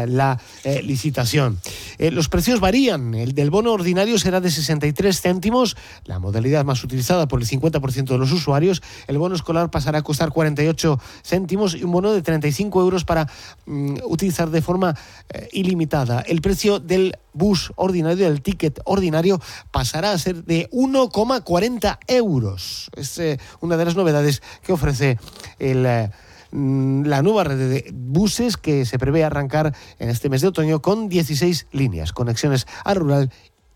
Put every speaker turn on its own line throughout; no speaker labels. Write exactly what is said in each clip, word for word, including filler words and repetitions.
eh, la eh, licitación. Eh, los precios varían. El del bono ordinario será de sesenta y tres céntimos, la modalidad más utilizada por el cincuenta por ciento de los usuarios. El bono escolar pasará a costar cuarenta y ocho céntimos y un bono de treinta y cinco euros para mm, utilizar de forma eh, ilimitada. El precio del bus ordinario, del ticket ordinario, pasará a ser de uno coma cuarenta euros. Es eh, una de las novedades que ofrece el, eh, la nueva red de buses, que se prevé arrancar en este mes de otoño con dieciséis líneas, conexiones a rural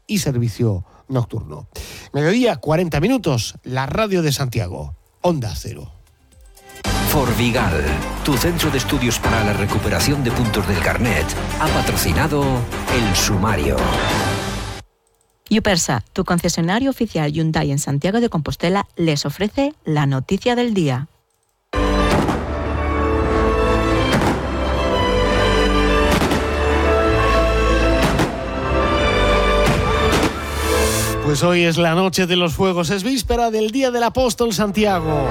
y servicio nocturno. Mediodía, cuarenta minutos, la radio de Santiago, Onda Cero.
Forvigal, tu centro de estudios para la recuperación de puntos del carnet, ha patrocinado El Sumario.
Yupersa, tu concesionario oficial Hyundai en Santiago de Compostela, les ofrece la noticia del día.
Pues hoy es la noche de los fuegos, es víspera del Día del Apóstol Santiago.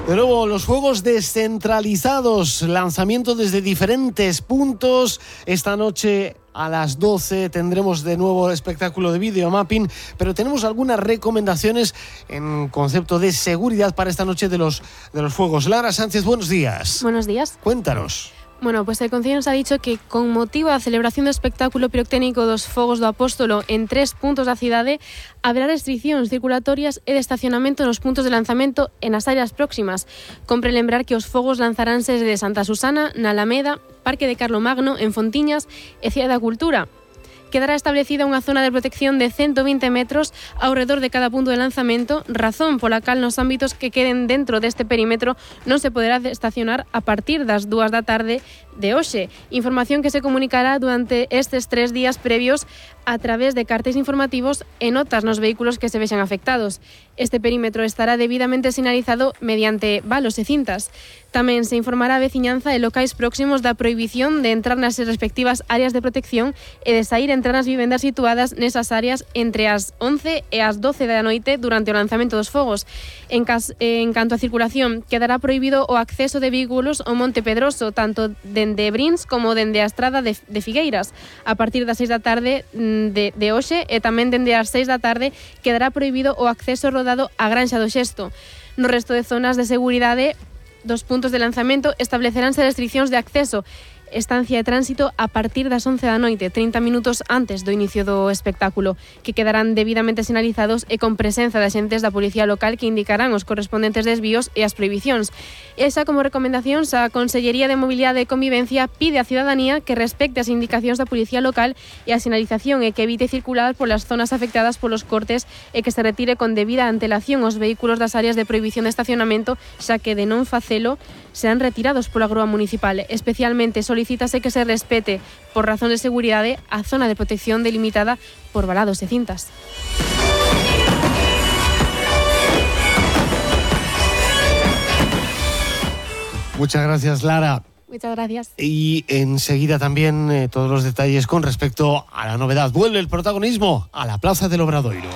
De nuevo, los fuegos descentralizados, lanzamiento desde diferentes puntos. Esta noche a las doce tendremos de nuevo espectáculo de videomapping, pero tenemos algunas recomendaciones en concepto de seguridad para esta noche de los, de los fuegos. Lara Sánchez, buenos días.
Buenos días.
Cuéntanos.
Bueno, pues el Concello nos ha dicho que con motivo da celebración do espectáculo pirotécnico dos Fogos do Apóstolo en tres puntos da cidade, haberá restriccións circulatorias e de estacionamento nos puntos de lanzamento e nas áreas próximas. Compre lembrar que os fogos lanzaránse desde Santa Susana, na Alameda, Parque de Carlomagno, en Fontiñas e Cidade da Cultura. Quedará establecida unha zona de protección de ciento veinte metros ao redor de cada punto de lanzamento, razón pola cal nos ámbitos que queden dentro deste perímetro non se poderá estacionar a partir das dúas da tarde de hoxe. Información que se comunicará durante estes tres días previos a través de cartéis informativos e notas nos vehículos que se vexan afectados. Este perímetro estará debidamente sinalizado mediante valos e cintas. Tamén se informará a veciñanza e locais próximos da prohibición de entrar nas respectivas áreas de protección e de sair e entrar nas vivendas situadas nesas áreas entre as once e as doce da noite durante o lanzamento dos fogos. En, cas, en canto a circulación, quedará prohibido o acceso de vehículos ao Monte Pedroso, tanto dende Brins como dende a estrada de, de Figueiras. A partir das seis da tarde de, de hoxe e tamén dende as seis da tarde quedará prohibido o acceso rodado á Granxa do Xesto. No resto de zonas de seguridade dos puntos de lanzamento estableceránse restriccións de acceso, estancia de tránsito a partir das once da noite, trinta minutos antes do inicio do espectáculo, que quedarán debidamente sinalizados e con presenza de axentes da Policía Local que indicarán os correspondentes desvíos e as prohibicións. Esa, como recomendacións, a Consellería de Mobilidade e Convivencia pide á cidadanía que respecte as indicacións da Policía Local e a sinalización e que evite circular polas zonas afectadas polos cortes e que se retire con debida antelación os vehículos das áreas de prohibición de estacionamento, xa que de non facelo serán retirados pola grúa municipal. Especialmente solicítase que se respete, por razón de seguridade, a zona de protección delimitada por valados e cintas.
Muchas gracias, Lara.
Muchas gracias.
Y enseguida también eh, todos los detalles con respecto a la novedad. Vuelve el protagonismo a la Plaza del Obradoiro.